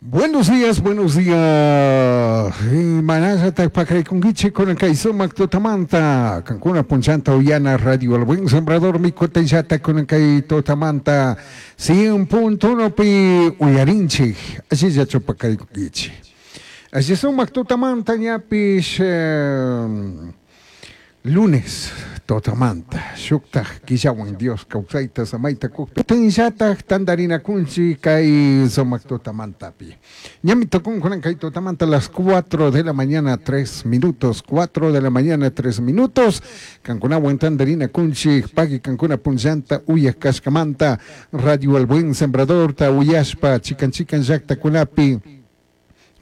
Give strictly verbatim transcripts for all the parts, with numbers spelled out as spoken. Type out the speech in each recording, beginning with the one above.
Buenos días, buenos días. Manasata pakaricunkichik kunan kay sumak tutamanta. Kankuna punchanta uyana Radio El Buen Sembrador mikutayllata kunan kay tutamanta. Cien punto uno pi uyarinchik. Allillachu pakarikunkichik. Alli sumak tutamanta ñapish eh, lunes tutamanta. Shuktaj killawan Dios kawsayta samayta kukpi. Tinllataj tantarinakunchik kay sumak tutamantapi. Ñami tukun kunan kay tutamanta las cuatro de la mañana tres minutos. cuatro de la mañana tres minutos. Kankunawan tantarinakunchik pagui kankuna punllanta uyak kashkamanta Radio El Buen Sembrador ta uyashpa chikan chikan llaktakunapi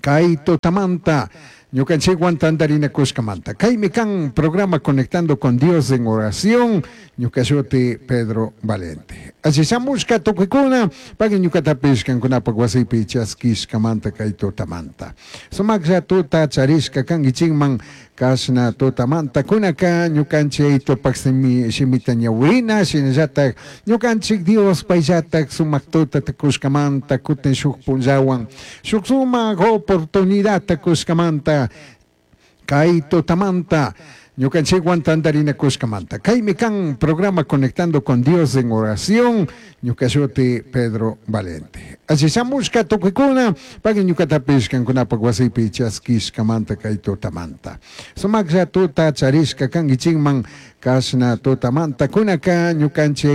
kay tutamanta ñukanchikwan tantarinakushkamanta. Kaymi kan programa Conectando con Dios en Oración, ñukashuti Pedro Valente. Allishamushka tukuykuna, pagui ñukatapish kankunapak wasipi chaskishkamanta kay tutamanta. Sumaklla tuta charishka kankichikman kashna tutamanta kunaka ñukanchik tupak simi shimita ñawirina, shinallatak ñukanchik Dios payllatak sumak tuta tukushkamanta kutin shuk punllawan, shuk sumak oportunidad tukushkamanta kay tutamanta ñukanchikwan tantarinakushkamanta. Kaymi kan programa Conectando con Dios en Oración, ñukashuti Pedro Valente. Allishamushka tukuykuna, pagui ñukatapish kankunapak wasipi chaskishkamanta kay tutamanta. Sumaklla tuta charishka kankichikman kashna tutamanta kunaka ñukanchik